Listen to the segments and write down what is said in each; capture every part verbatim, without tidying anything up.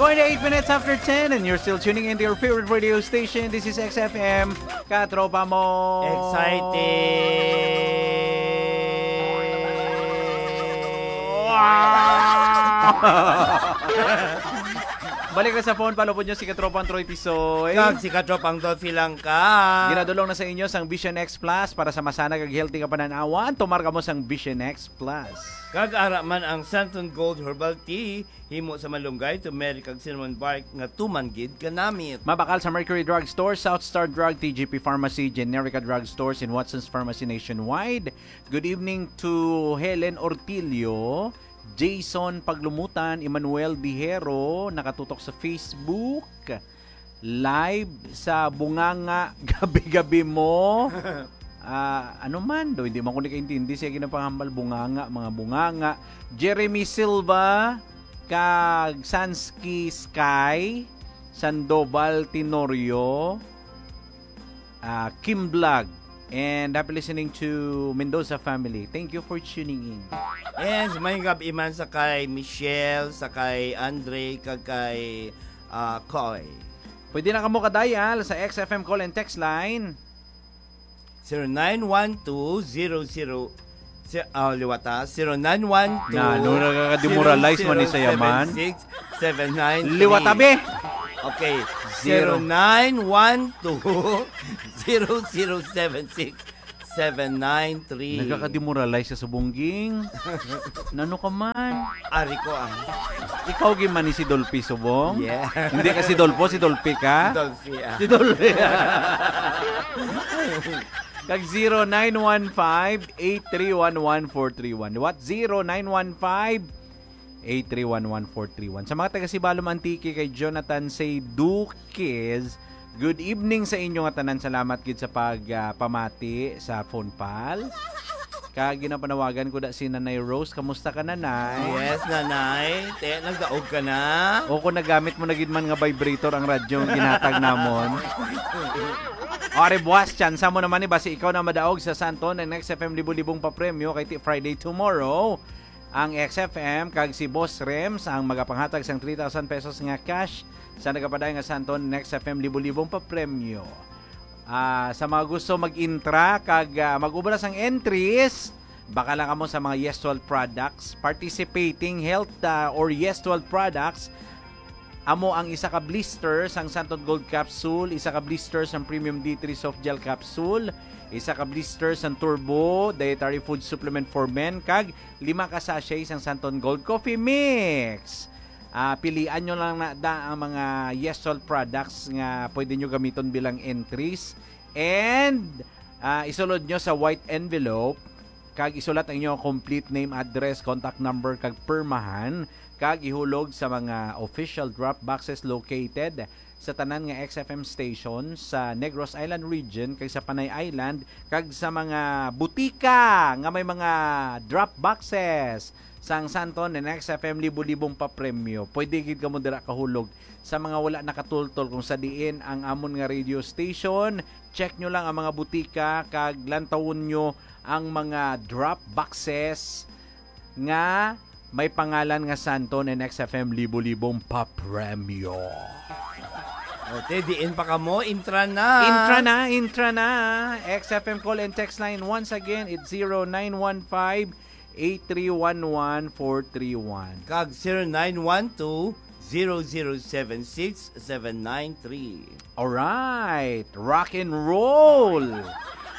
Point eight minutes after ten, and you're still tuning in to your favorite radio station. This is X F M, Katropa Mo. Exciting! Balik na sa phone, palupod nyo si Katropang Troy Tisoy. Kag si Katropang Dolphy lang ka. Ginadulong na sa inyo sang Vision X Plus para sa masanag kag healthy nga pananawan. Tumar kamo sang Vision X Plus. Kag ara man ang Santon Gold Herbal Tea, himo sa malunggay, turmeric, kag cinnamon bark nga tuman gid kanamit. Mabakal sa Mercury Drug Store, South Star Drug, T G P Pharmacy, Generica Drug Stores, and Watson's Pharmacy nationwide. Good evening to Helen Ortilio, Jason Paglumutan, Emmanuel Dihero, nakatutok sa Facebook Live sa Bunganga gabi-gabi mo. Ah, ano man do, hindi man ko nakaintindi siya ginapangambal, bunganga, mga bunganga. Jeremy Silva, kag Sansky Sky, Sandoval Tenorio, ah, Kim Vlog, and happy listening to Mendoza family. Thank you for tuning in. And may gabi man sa kay Michelle, sa kay Andre, kag kay, ah, Koy. Pwede na kamo ka-dial sa X F M call and text line. Zero nine one two zero zero, si-, ah, liwat, ah, zero nine one two, Na, ano, nakaka-demoralize man ni sa yaman? zero zero seven six, seven nine three. Liwat, abi. Okay. Zero. Zero nine one two, zero zero seven six, seven nine three. Nagkaka-demoralize ka sa bungging. Nano ka man? Ari ko ang Ikaw gid man ni si Dolphy subong? Yeah. Hindi ka si Dolpho, si Dolphy ka? Si Dolphy, ah. Si Dolphy. Kag zero nine one five, eight three one, one four three one. What? Zero nine one five, eight three one, one four three one. Sa mga taga Sibalom, Antique, kay Jonathan Say Duques, good evening sa inyo nga tanan. Salamat gid sa pag, ah, pamati sa phone pal. Kag ginapanawagan ko da si Nanay Rose. Kamusta ka, Nanay? Yes, Nanay. Te, nagdaog ka na? O kung nagamit mo na gid man nga vibrator ang radyo nga ginhatag namon. O, ari buwas, tsansa mo naman ni basi ikaw na madaog sa Santon and X F M Libo-Libong Papremyo kay ti Friday tomorrow. Ang X F M kag si Boss Rems ang magapanghatag sang three thousand pesos nga cash sa nagapadayon nga Santon and X F M Libo-Libong Papremyo. Ah, sa mga gusto mag-intra kag, ah, mag-obra sang entries, baka lang kamo sa mga Yestual products, participating health, ah, or Yestual products, amo ang isa ka blister sang Santon Gold Capsule, isa ka blister sang Premium D three Soft Gel Capsule, isa ka blister sang Turbo Dietary Food Supplement for Men, kag lima ka sachet sang Santon Gold Coffee Mix. Ah, pilian nyo lang na da ang mga Yestual products nga pwede nyo gamiton bilang entries. And, ah, isulod nyo sa white envelope kag isulat ang inyong complete name, address, contact number, kag pirmahan, kag ihulog sa mga official drop boxes located sa tanan nga X F M station sa Negros Island region kag sa Panay Island, kag sa mga butika nga may mga drop boxes sang Santon and X F M Libo-Libong Papremyo. Pwede gid kamo dira kahulog. Sa mga wala nakatultol kung sa diin ang amon nga radio station, check nyo lang ang mga butika kag lantawon nyo ang mga drop boxes nga may pangalan nga Santon and X F M Libo-Libong Papremyo. O, te, diin pa kamo? Intra na. Intra na, intra na. X F M call and text line, once again, it's zero nine one five, eight three one one, four three one. Kag zero nine one two, zero zero seven six, seven nine three. Alright, rock and roll.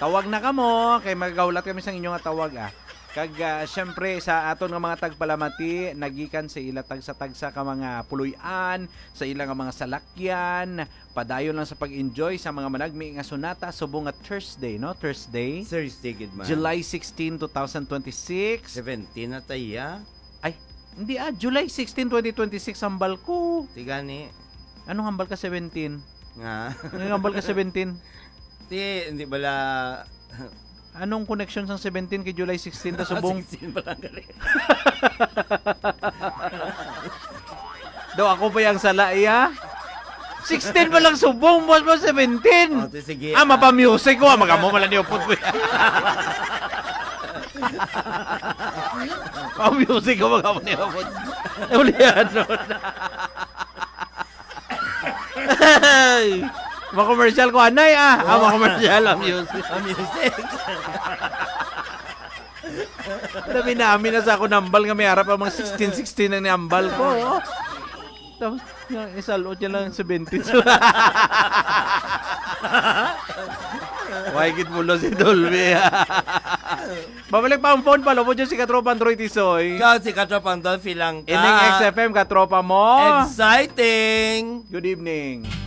Tawag na kamo, kay magahulat kami sa inyo nga tawag, ah. Kag, ah, syempre, sa aton nga mga tagpalamati, nagikan sa ila tagsa-tagsa ka mga puloy-an, sa ila nga mga salakyan, padayon lang sa pag-enjoy sa mga managmi nga sonata subong nga Thursday, no? Thursday, Thursday gid man. July sixteen, two thousand twenty-six. Seventeen na ta iya. Ay, hindi, ah, July sixteen, twenty twenty-six ang balko. Ti gani. Anong hambal ka seventeen? Nga. Anong hambal ka seventeen? Ti, hindi bala. Anong connection sang seventeen kay July sixteen ta subong? Sixteen pa lang gali. Daw ako pa yung sala, iya? Sixteen pa lang subong, boss mo, seventeen. O, ti, sige, Ah, ah. Mapa-music ko, ah, magamo man lang niyo po. Mapa-music ko, magamo niyo po. Ulihan, no? Ay! Makomersyal ko, anay, ah. Ah, makomersyal ang music. Ang music. Labi na, amin na sa ako nambal nga may harap ang mga sixteen sixteen ang niambal ko. Oh. Tapos, yung isalot niya lang seventy. Why gid mulo si Dolby? Babalik pa ang phone pa, lubod yung si Katropang Troy Tisoy. Ikaw si Katropang Dolphy lang ka. Ining X F M, katropa mo. Exciting! Good evening.